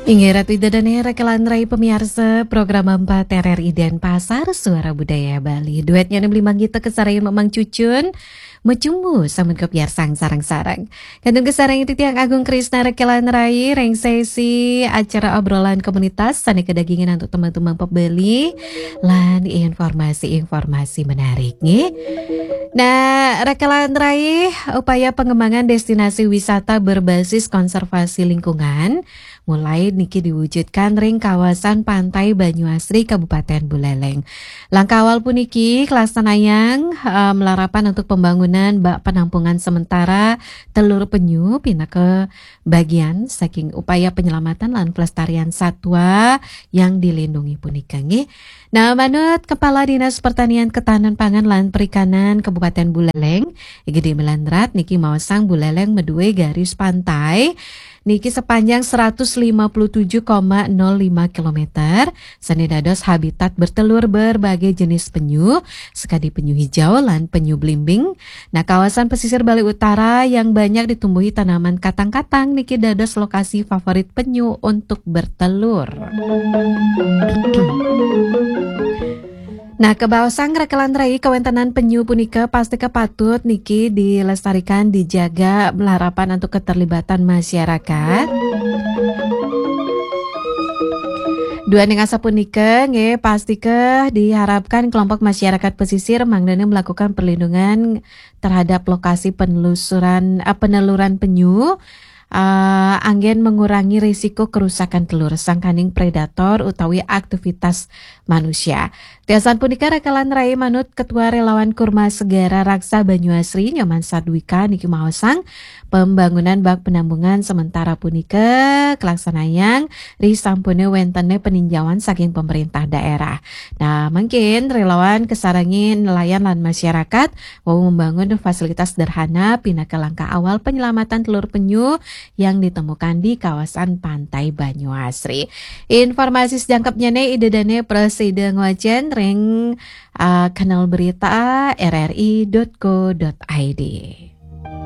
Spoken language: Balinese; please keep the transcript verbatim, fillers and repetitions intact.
Inggih Ratu Ida dané rekelan rai pemiarsa program empat R R I Denpasar, Suara Budaya Bali. Duetnya nih beli manggita kesaraya memang cucun, mecumbu samun kepiarsang sareng-sareng. Kantun kesareng titiang Agung Krisna rekelan rai, ring sesi acara obrolan komunitas, sané kedagingan untuk teman-teman pebeli, lan informasi-informasi menarik, nggih. Nah, rekelan rai, upaya pengembangan destinasi wisata berbasis konservasi lingkungan, mulai niki diwujudkan ring kawasan Pantai Banyuasri, Kabupaten Buleleng. Langkah awal puniki kalaksanayang, eh, malarapan untuk pembangunan bak penampungan sementara telur penyu pinaka bagian saking upaya penyelamatan lan pelestarian satwa yang dilindungi punika, nggih. Nah, manut Kepala Dinas Pertanian, Ketahanan Pangan lan Perikanan Kabupaten Buleleng, I G D Melandrat niki maosang Buleleng madué garis pantai niki sepanjang seratus lima puluh tujuh koma nol lima kilometer, sané dados habitat bertelur berbagai jenis penyu, sakadi penyu hijau lan penyu belimbing. Nah, kawasan pesisir Bali Utara yang banyak ditumbuhi tanaman katang-katang niki dados lokasi favorit penyu untuk bertelur. Nah, kabaosang rekelan rai kawéntenan penyu punika pastika patut niki dilestarikan, dijaga, malarapan untuk keterlibatan masyarakat. Duaning asapunika, nggih, pastika diharapkan kelompok masyarakat pesisir mangdané melakukan perlindungan terhadap lokasi penelusuran, eh, peneluran penyu, eh, anggén mengurangi risiko kerusakan telur sangkaning predator utawi aktivitas manusia. Tiasan punika rekelan rai manut Ketua Relawan Kurma Segara Raksa Banyuasri, Nyoman Sadwika niki maosang, pembangunan bak penampungan sementara punika kalaksanayang risampuné wéntené peninjauan saking pemerintah daerah. Nah, mungkin relawan kasarengin nelayan lan masyarakat wau membangun fasilitas sederhana pinaka langkah awal penyelamatan telur penyu yang ditemukan di kawasan Pantai Banyuasri. Informasi sajangkepnyané Ida dané prasida ngwacén ring, ah, kanal berita R R I dot co dot I D.